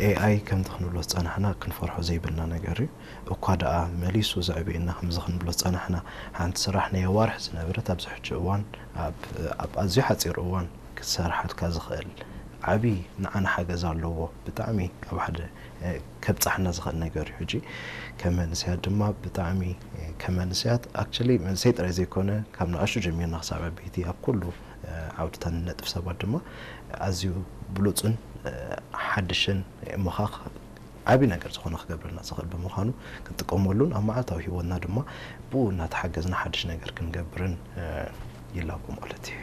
ኤኣይ ከምቲ ክንብሎ ዝጸናሕና ክንፈርሖ ዘይብልና ነገር እዩ። እኳ ደኣ መሊሱ ዘዕብየና ከምዚ ክንብሎ ዝጸናሕና፣ ሓንቲ ስራሕ ናይ ኣዋርሕ ዝነበረት ኣብዚ ሕጂ እዋን ኣብ ኣብ ኣዝዩ ሓጺር እዋን ክሰርሓልካ ዝኽእል ዓቢ ንዓና ሓገዝ ኣለዎ። ብጣዕሚ ኣብ ሓደ ከብጻሕና ዝኽእል ነገር እዩ። ሕጂ ከም መንእሰያት ድማ ብጣዕሚ ከም መንእሰያት፣ actually መንእሰይ ጥራይ ዘይኮነ ካብ ንኣሽቱ ጀሚርና ክሳብ ዓበይቲ ኣብ ኩሉ ዓውድታት ንነጥፍ ሰባት ድማ ኣዝዩ ብሉጽን ሓድሽን እሞ ኸኣ ዓቢ ነገር ዝኾነ ክገብረልና ዝኽእል ብምዃኑ ክንጥቀመሉን ኣብ መዓልታዊ ህይወትና ድማ ብኡ እናተሓገዝና ሓድሽ ነገር ክንገብርን ይላቦ ማለት እዩ።